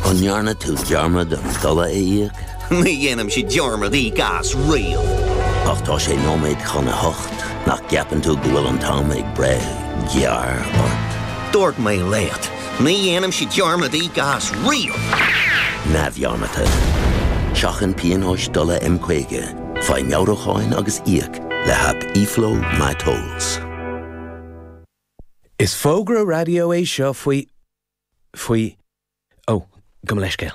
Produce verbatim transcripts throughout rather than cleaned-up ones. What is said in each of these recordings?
An ndearna tú dearmad an dola a íoc? Ní dhéanaimse dearmad íoc as riamh. Ach tá sé nóiméad chun a hocht nach gceapann tú go bhfuil an t-am ag breith gearr ort. Dúirt mé leat, ní dhéanaimse dearmad íoc as riamh. Neamhdhearmadta. Seachain pionóis dola M caoga, faigh meabhrúcháin agus íoc le haip eFlow MyTolls. Is fógra raidió é seo faoi faoi ó gabh mo leithscéal.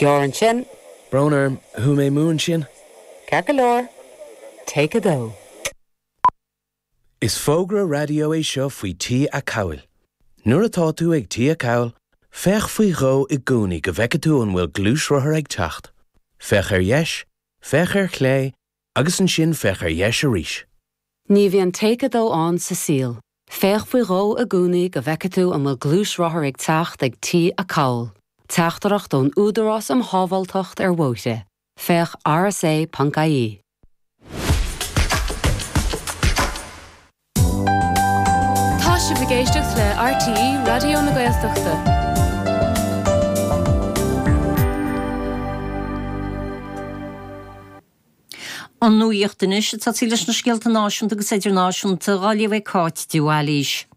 Gearr ansin. Brón orm chuaigh mé amú ansin? Ceart go leor. Take a dó. Is fógra raidió é seo faoi Tí Acomhail. Nuair atá tú ag Tí Acomhail, féach faoi dhó i gcónaí go bhfeice tú an bhfuil gluaisrothar ag teacht. Féach ar dheis, féach ar chlé, agus ansin féach ar dheis arís. Ní bhíonn take a dó ann sa saol. Féach faoi dhó i gcónaí go bhfeice tú an bhfuil gluaisrothar ag teacht ag Tí Acomhail. Teachtaireacht ón Údarás um Shábháilteacht ar Bhóithre. Féach rsa.ie. Tá sibh ag éisteacht le RTÉ Raidió na Gaeltachta. An nuacht anois ag tosaí leis na scéalta náisiúnta agus idirnáisiúnta á léamh ag Cáit de Bhailís.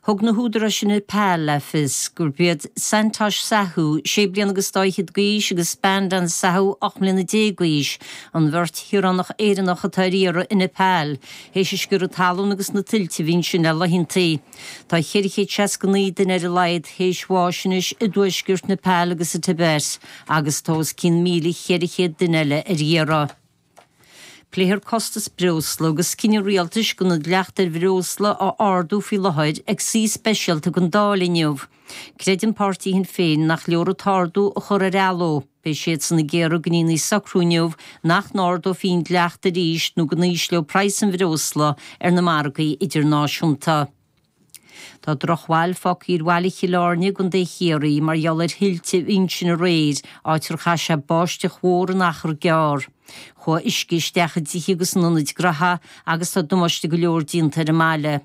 Thug na húdaráis i Nepal le fios gurb iad Santosh Sahu, sé bliana agus dá fhichead d'aois, agus Bandan Sahu, ocht mbliana déag d'aois, an bheirt shaoránach Éireannach atá ar iarraidh i Nepal, théis an sciorradh talún agus na tuilte a bhí ansin le laethantaí. Tá ceithre chéad seasca naoi duine ar a laghad théis bháis anois i dtuaisceart Nepal agus sa Tibet, agus tá os cionn míle cheithre chéad duine eile ar iarraidh. Pléifear costas breosla agus cinneadh rialtais gan an dleacht ar bhreosla a ardú faoi láthair ag suí speisialta den Dáil inniu. Creideann páirtí Shinn Féin nach leor an t-ardú a chur ar athló. Beidh siadsan ag iarraidh go ndéanfaí socrú inniu nach n-ardófaí an dleacht arís nó go n-ísleoidh praghas an bhreosla ar na margaí idirnáisiúnta. Tá drochbhail fágtha ar bhaile Chill Airne i gContae Chiarraí mar gheall ar thuilte a bhí ansin aréir, áit ar chaith sé báisteach mhór in achar gearr. Chuaigh uisce isteach i dtithe agus in ionaid gnaithe agus tá damáiste go leor déanta ar an mbaile.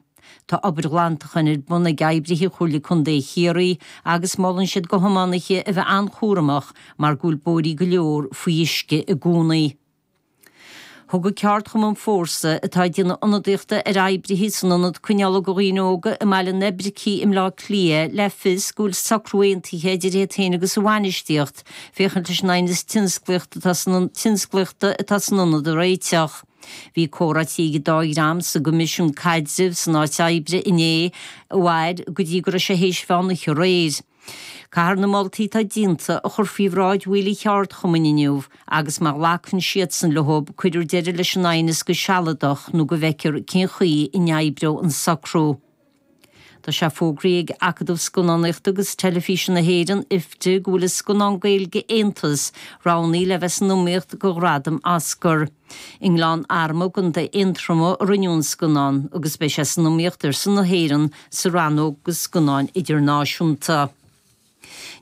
Tá obair ghlantacháin ar bun ag oibrithe Chomhairle Contae Chiarraí agus molann siad do thiománaithe a bheith an-chúramach mar go bhfuil bóithrí go leor faoi uisce i gcónaí. Thug an ceardchumann Fórsa, atá ag déanamh ionadaíochta ar oibrithe san ionad coinneála do dhaoine óga i mBaile an Oibricigh i mBleá Cliath, le fios go bhfuil socrú aontaithe idir iad féin agus a bhainistíocht féachaint leis an aighneas tionsclaíochta atá san tionsclaíochta atá san ionad a réiteach. Bhí comhráití ag an dá dhream sa gCoimisiún Caidrimh san áit oibre inné a mhair go dtí go raibh sé théis mheán oíche aréir. Caithfear na moltaí atá déanta a chur faoi bhráid bhaill an cheardchumainn inniu agus má ghlacann siadsan leo cuirfear deireadh leis an aighneas go sealadach nó go bhfeicfear cén chaoi a n-oibreoidh an socrú. Tá sé fógraithe ag Acadamh Scannánaíochta agus Teilifíse na hÉireann, IFTA, go bhfuil a scannán Gaeilge Aontas roghnaithe le bheith san iomaíocht do ghradam Oscar. I nGleann Arma i gContae Aontroma a rinneadh an scannán agus beidh sé san iomaíocht ar son na hÉireann sa rannóg do scannáin idirnáisiúnta.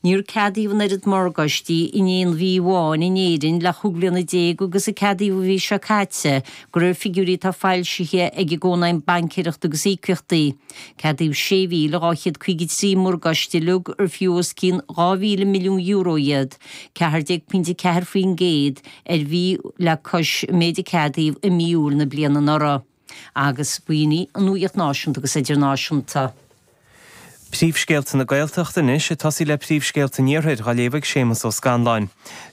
Níor ceadaíodh an oiread morgáistí in aon mhí amháin in Éirinn le chúig bliana déag agus a ceadaíodh an mhí seo caite, de réir figiúirí atá foilsithe ag an gCónaidhm Baincéireachta agus Íocaíochtaí. Ceadaíodh sé mhíle dhá chéad caoga trí morgáiste uilig ar fiú os cionn dhá mhíle milliún euro iad, ceathair déag pointe ceathair faoin gcéad ar mhí le cois an méid a ceadaíodh i mí Iúil na bliana anuraidh. Agus b'in í an nuacht náisiúnta agus idirnáisiúnta. Príomhscéalta na Gaeltachta anois, ag tosaí le príomhscéalta an Iarthair, á léamh ag Séamus Ó Scanláin.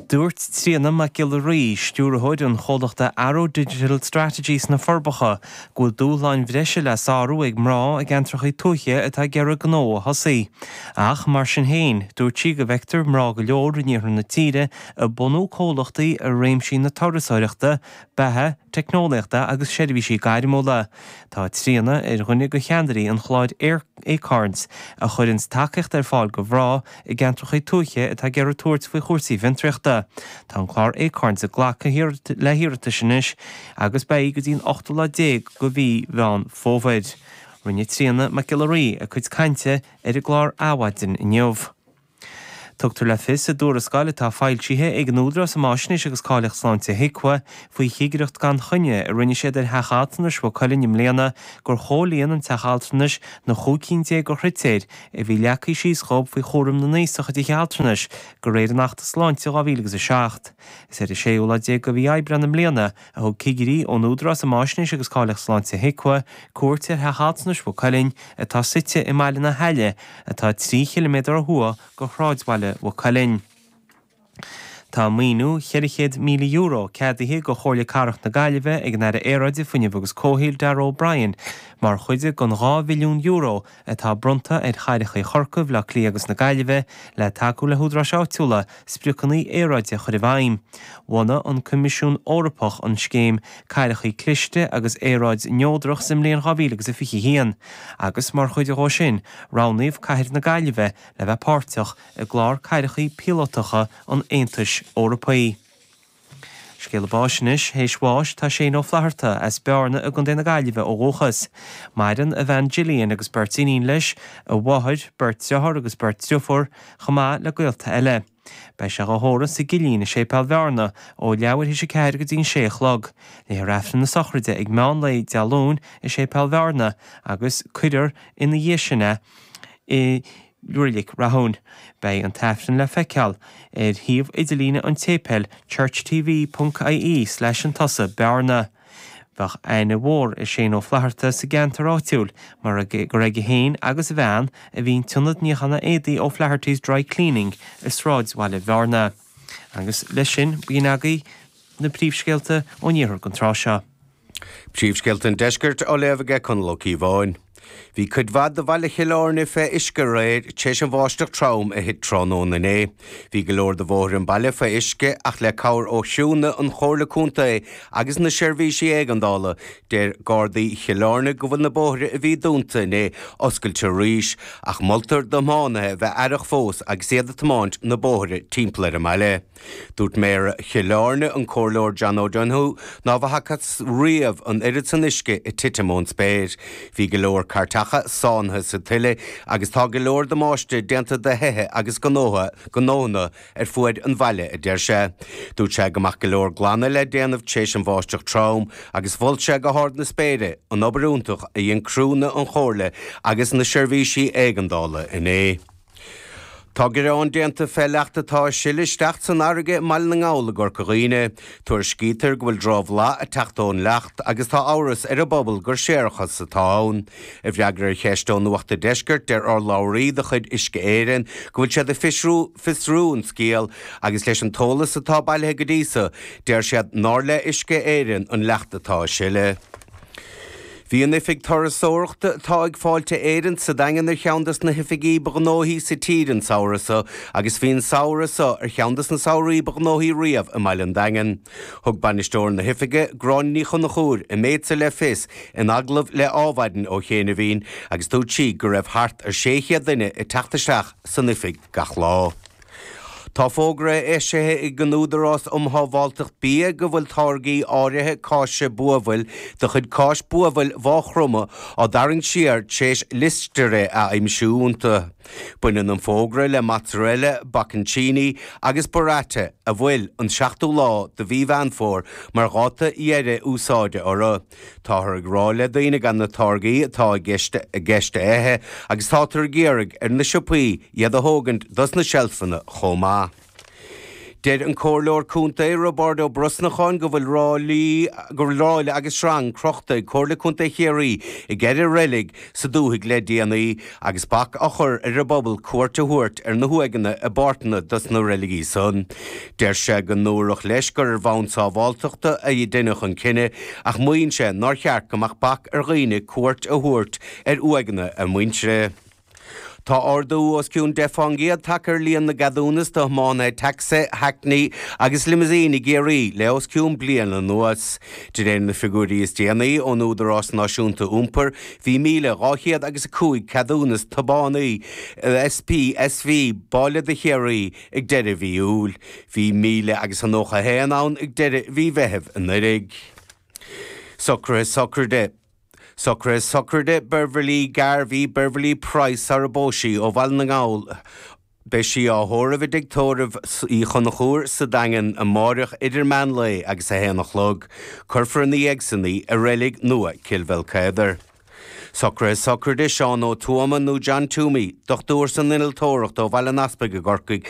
Dúirt Tríona Mac Giolla Rí, stiúrthóir an chomhlachta Arrow Digital Strategy sna Forbacha, go bhfuil dúshláin bhreise le sárú ag mná i gceantracha tuaithe atá ag iarraidh gnó a thosaí. Ach, mar sin féin, dúirt sí go bhfeictear mná go leor in iarthar na tíre ag bunú comhlachtaí i réimsí na turasóireachta, beatha, teicneolaíochta agus seirbhísí gairmiúla. Tá Tríona ar dhuine de cheannairí an chláir Acorns, a chuireanns tacaíocht ar fáil do mhná i gceantracha tuaithe atá ag iarraidh tabhairt faoi chúrsaí fiontraíochta. Tá an clár Acorns ag glacadh le hiarratais anois agus beidh go dtí an ochtú lá déag de mhí Mheán Fómhair. Rinne Tríona Mac Giolla Rí a cuid cainte ar an gclár Adhmhaidin inniu. Tugtar le fios i dtuarascáil atá foilsithe ag an Údarás um Fhaisnéis agus Cáilíocht Sláinte HIQA faoi chigireacht gan choinne a rinne siad ar theach altranais Mhaigh Cuilinn i mbliana gur chomhlíon an teach altranais na chúig cinn déag de chritéir a bhí leagtha síos dhóibh faoi chúram na n-aosach i dtithe altranais de réir an Achta Sláinte dhá mhíle agus a seacht. Is ar an séú lá déag de mhí Aibreán i mbliana a thug cigirí ón Údarás um Fhaisnéis agus Cáilíocht Sláinte HIQA cuairt ar theach altranais Mhaigh Cuilinn atá suite i mBaile na hAille atá trí chiliméadar ó thuaidh de shráidbhaile Mhaigh Cuilinn. Tá maoiniú cheithre chéad míle euro ceadaithe do Chomhairle Cathrach na Gaillimhe ag an Aire Aeráide, Fuinnimh agus Comhshaoil Darragh O'Brien mar chuid den dhá mhilliún euro atá bronnta ar chathracha Chorcaí, Bhaile Átha Cliath agus na Gaillimhe le tacú le húdaráis áitiúla spriocanna aeráide a chur i bhfeidhm. Bhunaigh an Coimisiún Eorpach an scéim Cathracha Cliste agus Aeráid-neodrach sa mbliain dhá mhíle agus a fiche haon agus mar chuid dhó sin roghnaíodh Cathair na Gaillimhe le bheith páirteach i gclár cathracha píolótacha an Aontais Eorpaigh. Scéala báis anois, théis bháis tá Shane Ó Flatharta as Bearna i gContae na Gaillimhe ó dhúchas. Maireann a bhean Gillian agus beirt iníon leis, a mháthair, beirt dearthár agus beirt driofúr, chomh maith le gaolta eile. Beidh sé á thórramh sa gCillín i Séipéal Bhearna ó leathuair théis a ceathair go dtí an sé a chlog. Léifear Aifreann na sochraide ag meán lae Dé Luain i Séipéal Bhearna agus cuirfear ina dhiaidh sin é i Reilig Rathúin. Beidh an t-aifreann le feiceáil ar shuíomh idirlíne an tséipéil churchtv ponc ie slash an tusa Bearna. Bheadh aithne mhór ar Shane Ó Flatharta sa gceantar áitiúil mar gur aige féin agus a bhean a bhí an t-ionad níocháin éadaí O'Flaherty's Dry Cleaning i sráidbhaile Bhearna. Agus leis sin, b'in agaibh na príomhscéalta ón iarthar don tráth seo. Príomhscéalta an deiscirt á léamh aige Conall Ó Cíobháin. Bhí cuid mhaith de bhaile Chill Airne fé uisce aréir tar éis an bháisteach trom a thit tráthnóna inné. Bhí go leor de bhóithre an baile fé uisce ach le cabhair ó chriúnna an Chomhairle Contae agus na seirbhísí éigeandála, deir Gardaí Chill Airne go bhfuil na bóithre a bhí dúnta inné oscailte arís, ach moltar do thiománaithe bheith aireach fós agus iad ag tiomáint na bóithre timpeall ar an mbaile. Dúirt Méara Chill Airne, an Comhairleoir John O'Donoghue, ná bhfacthas riamh an oiread san uisce ag titim ón spéir. Bhí go leor cairteacha sáinnithe sa tuile agus tá go leor damáiste déanta do thithe agus gnótha gnónna ar fuaid an bhaile, a deir sé. Dúirt sé go mbeadh go leor glanadh le déanamh tar éis an bháisteach trom agus mhol sé go hard na spéire an obair iontach a dhein criúnna an Chomhairle agus na seirbhísí éigeandála inné. Tá gearán déanta fé leacht atá ag sileadh isteach san fharraige i mBaile na nGall i gCorca Dhuibhne. Tuairiscítear go bhfuil drochbhlas ag teacht ón leacht agus tá amhras ar an bpobal gur séarachas atá ann. I bhfreagra ar cheist ó Nuacht an Deiscirt, deir urlabhraí de chuid Uisce Éireann go bhfuil siad ag fiosrú fiosrú an scéal agus leis an t-eolas atá bailithe go dtí so, deir siad nár le Uisce Éireann an leacht atá ag sileadh. Bhí an oifig turasóireachta atá ag Fáilte Éireann sa Daingean ar cheann des na hoifigí ba ghnóthaí sa tír an samhradh seo agus bhí an samhradh seo ar cheann des na samhraí ba ghnóthaí riamh i mbaile an Daingin. Thug bainisteoir na hoifige, Gráinne Ní Chonchúir, an méid seo le fios in agallamh le Adhmhaidin ó chianaibhín agus dúirt sí go raibh thart ar sé chéad duine ag teacht isteach san oifig gach lá. Tá fógra eisithe ag an Údarás um Shábháilteacht Bia go bhfuil táirgí áirithe cáise buabhaill de chuid Cáis Buabhaill Mhaigh Chromtha á dtarraingt siar tar éis listeria a aimsiú iontu. Baineann an fógra le mozzarella, bocconcini agus burrata a bhfuil an seachtú lá de mhí Mheán Fómhair mar dháta dheiridh úsáide orthu. Táthar ag rá le daoine gan na táirgí atá i gceist i gceist a ithe agus táthar ag iarraidh ar na siopaí iad a thógaint dos na seilfeanna chomh maith. Deir an Comhairleoir Contae Roibeárd Ó Brosnacháin go bhfuil ráillí go bhfuil ráille agus sreang crochta ag Comhairle Contae Chiarraí i gceithre reilig sa dúthaigh le déanaí agus bac á chur ar an bpobal cuairt a thabhairt ar na huaigheanna i bpáirteanna dos na reiligí san. Deir sé go ndúradh leis gur ar bhonn sábháilteachta a deineadh an cinneadh ach maíonn sé nár cheart go mbeadh bac ar dhaoine cuairt a thabhairt ar uaigheanna a muintire. Tá ardú os cionn deich faoin gcéad tagtha ar líon na gceadúnas do thiománaithe tacsaithe, hackney agus limousine i gCiarraí le os cionn bliain anuas. De réir na figiúirí is déanaí ón Údarás Náisiúnta Iompair, bhí míle dhá chéad agus a cúig ceadúnas tiománaí S P S V bailí do Chiarraí ag deireadh mhí Iúil. Bhí míle agus a nócha a haon ann ag deireadh mhí Mheithimh anuraidh. Socruithe sochraide. Socruithe sochraide Beverly Garvey, Beverly Price sara bpós sí ó Bhaile na nGall Beidh sí á thórramh i dtigh tórraimh Uí Chonchúir sa Daingean amáireach idir meán lae agus a haon a chlog. Cuirfear ina dhiaidh san í i reilig nua Cill Bhealcéadair. Socruithe sochraide Seán Ó Tuama nó John Toomey, dochtúir san innealtóireacht ó Bhaile an Easpaig i gCorcaigh,